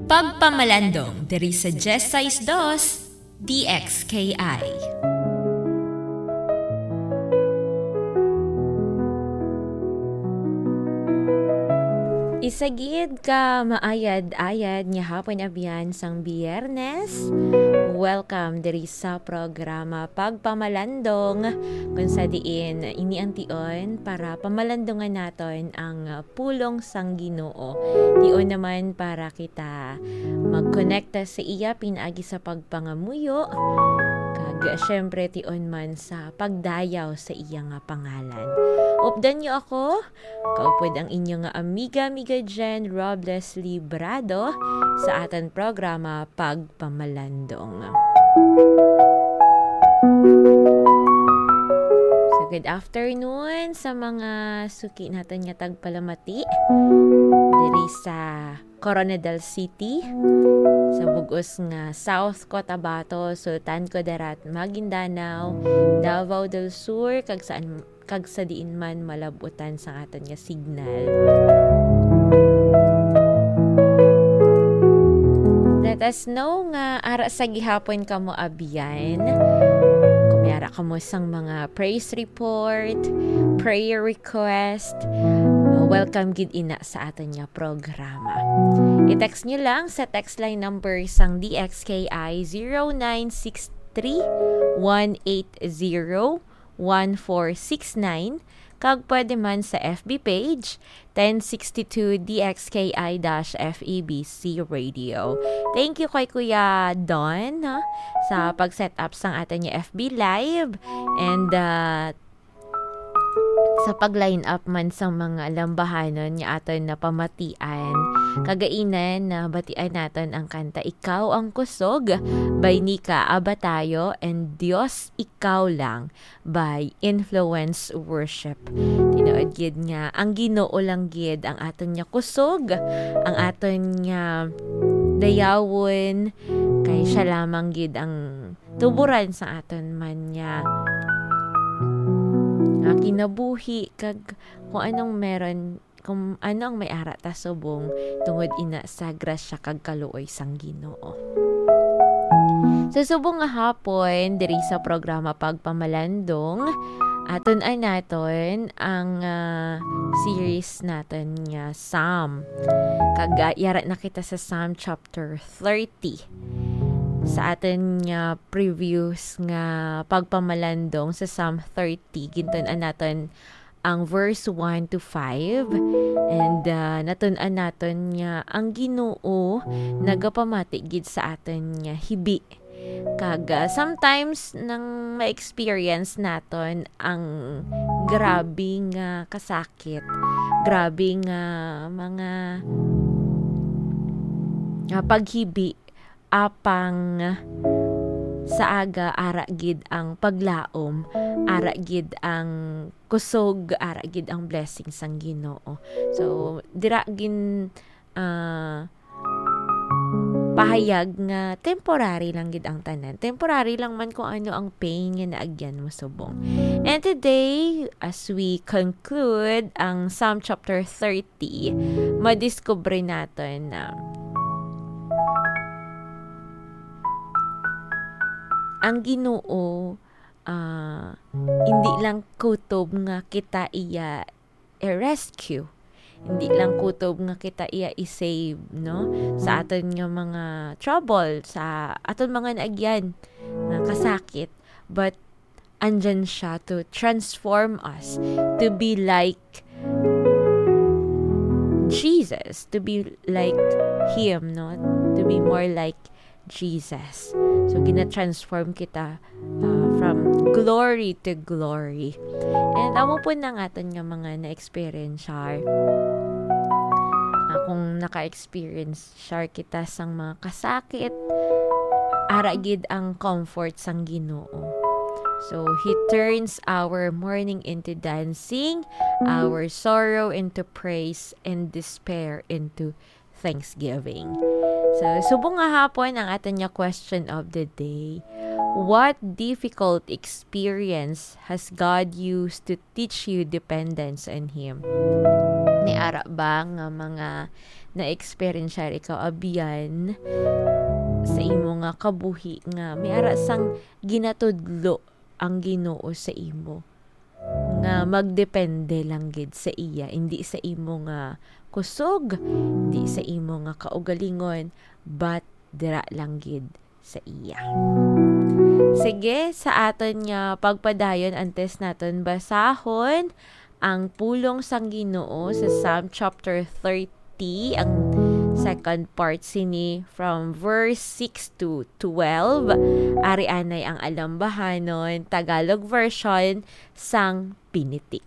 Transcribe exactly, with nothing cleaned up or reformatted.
Pagpamalandong diri sa diyes sais dos D X K I. Isa gid ka maayad-ayad nga hapon, abyan, sang Biyernes. Welcome diri sa programa Pagpamalandong, kung sa diin ini ang tion para pamalandungan naton ang pulong sang Ginoo. Tion naman para kita magkonekta sa iya pinaagi sa pagpangamuyo, kag siyempre tion man sa pagdayaw sa iya nga pangalan. Updan niyo ako, kaupod ang inyo nga amiga, amiga Jen Robles Librado, sa aton programa Pagpamalandong. So, good afternoon sa mga suki naton nga tagpalamati diri sa Corona del City, sa bug-os nga South Cotabato, Sultan Kudarat, Maguindanao, Davao del Sur, kag saan, kag sa diin man malab-utan sang aton nga signal. Let us know nga ara sa gihapon kamo, abyan. Kung may ara kamo sang mga praise report, prayer request, uh, welcome gid ina sa aton nga programa. I-text nyo lang sa text line number sang D X K I, zero nine six three, one eight zero, one four six nine, kag pwede man sa F B page, ten sixty-two D X K I dash F E B C Radio. Thank you kay Kuya Don, ha, sa pag-set up sang aton nga F B Live, and, uh, sa pag-line up man sang mga lambahanon nga aton napamatian. Kagainan, nabatian naton ang kanta Ikaw ang Kusog by Nika Abatayo and Dios Ikaw Lang by Influence Worship. Tinuod gid nga ang Ginoo lang gid ang aton nga kusog, ang aton nga dayawon, kay siya lamang gid ang tuburan sa aton man nga, nga kinabuhi, kag kung anong meron, kung ano ang may ara ta subong, tungod ina sa grasya kag kaluoy sang Ginoo. So, subong nga hapon, diri sa programa Pagpamalandong, atun-an naton ang, ah, series naton nga Psalm. Kag, ah, yara na kita sa Psalm chapter thirty. Sa aton nga previous nga pagpamalandong sa Psalm thirty, gintun-an naton ang verse one to five. And, ah, natun-an naton nga ang Ginoo nagapamati gid sa aton nga hibi. Kag, ah, sometimes nang ma-experience naton ang grabe nga kasakit, grabe nga mga, ah, paghibi, apang sa aga ara gid ang paglaom, ara gid ang kusog, ara gid ang blessing sang Ginoo. So, dira gin, ah, pahayag nga temporary lang gid ang tanan. Temporary lang man kung ano ang pain nga naagyan mo subong. And today, as we conclude ang Psalm chapter thirty, madiskubre naton na ang Ginoo, ah, hindi lang kutob nga kita iya i-rescue. Hindi lang kutob nga kita iya i-save, no? Sa aton nga mga trouble, sa aton mga naagyan nga kasakit, but andyan siya to transform us to be like Jesus, to be like Him, no? To be more like Jesus. So, gina-transform kita, uh, from glory to glory. And amo po na ang aton nga mga na-experience, Char. Uh, kung naka-experience, Share kita sang mga kasakit, ara gid ang comfort sang Ginoo. So, He turns our mourning into dancing, our sorrow into praise, and despair into thanksgiving. So, subong nga hapon ang aton nga question of the day. What difficult experience has God used to teach you dependence on Him? May ara ba nga mga na-experience ikaw, abyan, sa imo nga kabuhi nga may ara sang ginatudlo ang Ginoo sa imo, nga magdepende lang gid sa iya, hindi sa imo nga kusog, hindi sa imo nga kaugalingon, but dira lang gid sa iya. Sige, sa aton nga pagpadayon, antes naton basahon ang pulong sang Ginoo sa Psalm chapter thirty, ang second part sini, from verse six to twelve. Ari anay ang Alambahanon Tagalog version sang Pinitik.